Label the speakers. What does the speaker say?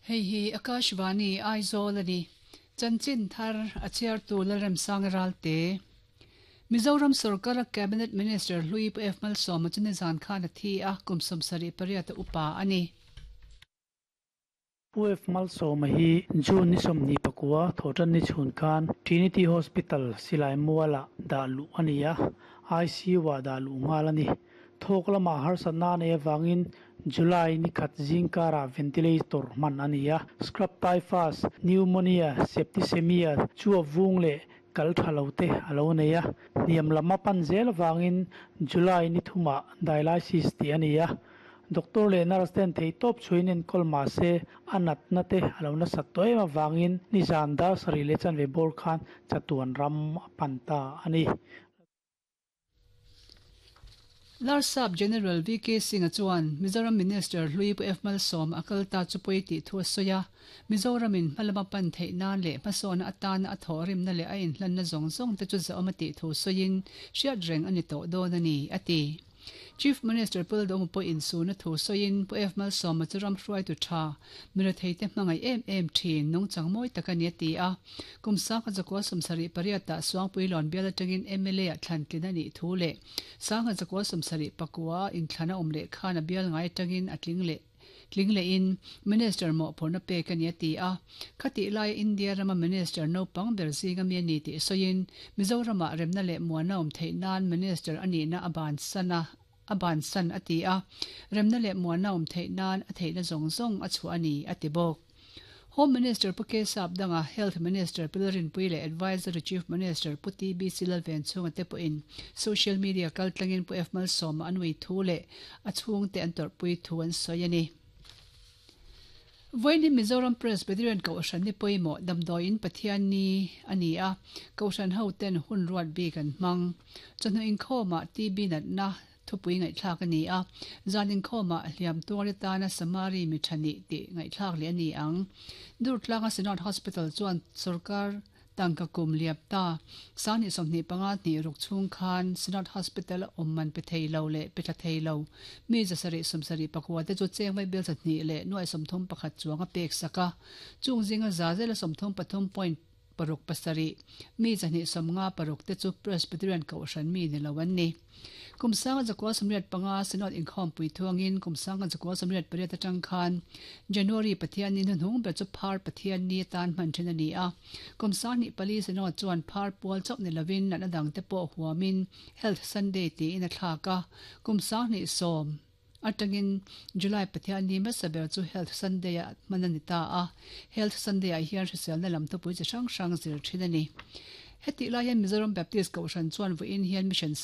Speaker 1: Hei hi Akashvani Aizawl a ni. Chanchin thar a chhiartu Lalremsanga Ralte. Mizoram sorkara Cabinet Minister hlui Pu F Malsawma chu nizan khan a thi a, kum 78 a upa a ni.
Speaker 2: Pu F Malsawma hi June ni 29 thawhtan ni chhun khan Trinity Hospital Silai Mualah dah luh a ni a, ICU-ah dah luh nghal a ni. Thawk lamah harsatna a neih avangin July ni khat zingkarah ventilator hman a ni a, scrub typhus, pneumonia, septicemia chu a vung leh kal tha lo te a lo nei a, hniam lam a pan zel avangin July ni thumah dialysis tih a ni a. Doctor leh nurse ten theihtawp chhuiin enkawl mah se a natna te a lo nasat tawh em avangin nizan dar sarih leh chanve bawr khan chatuan ram a pan ta a ni.
Speaker 1: Larsap General VK Singh-a chuan Mizoram Minister hlui Pu F Malsawma a kal ta chu pawi tih thu a sawi a, Mizoramin hmalama pan theih nan leh hmasawnna atana a thawhrimna leh a inhlanna zawng zawng te chu zahawm a tih thu sawiin hriat reng a ni tawh dawn a ni, a ti. Chief Minister Pu Lalduhawma pawhin suna thu sawiin Pu F Malsawma chu ram hruaitu tha, miretheite hmangaih em em thin, nungchang mawi tak a ni a ti a. Kum sangha zakua 78 ah Suangpuilawn bial atangin mla ah thlan tlin a nih thu leh sangha zakua 71 a inthlan a awm leh khan a bial ngai atangin a tling leh tling lehin Minister mawhphurhna pek a ni a ti a. Khatih laia India rama Minister naupang ber zinga mi a ni tih sawiin Mizoramah remna leh muana awm theih nan Minister a nihna a bansan a a bansan a ti a, remna leh muana awm theih nan a theihna zawng zawng a chhuah a ni a ti bawk. Home Minister Pu K Sapdanga, Health Minister Pu Lalrinpuii leh Advisory Chief Minister Pu TBC Lalvenchhunga te pawhin social media kaltlangin Pu F Malsawma an ui thu leh a chhungte an tawrhpui thu an sawi a ni. Vawiin hi Mizoram Presbyterian Kohhran ni pawimawh damdawiin Pathian ni a ni a, Kohhran hoten hun ruat bik an hmang. Chawhnu inkhawmah TB natna Thupui ngaihthlak a ni a, zan inkhawmah hliam tuar atana Samari mi tha nih tih ngaihthlak leh a ni ang. Durtlanga Synod Hospital chuan sorkar tangka kum liap ta sanghnih 25 hnih ruk chhung khan Synod Hospital a awm man pe thei lo leh pe tla thei lo mi 700 74 te chu cheng vaibel 200 leh nuai 31 chuang a pek sak a, chung zinga za zela 33 point paruk pasarih, mi 256 te chu Presbyterian Kohhran mi ni lo an ni. Kum sanga zakua 85 Synod inkhawmpui thuangin kum sanga zakua 88 atang khan January Pathianni hnuhnung ber chu Phar Pathianni atan hman thin a ni a. Kum 24 Synod chuan Phar pual chauh ni lovin natna dangte pawh huamin Health Sunday tiin a thlak a. Kum 2010 Atangin July Pathianni hmasa ber chu Health Sunday-ah hman a ni ta a, Health Sunday-ah hian hriselna lam thupui chi hrang hrang zir thin a ni. Hetih lai hian Mizoram Baptist Kohhran chuan vawiin hian Mission Sunday.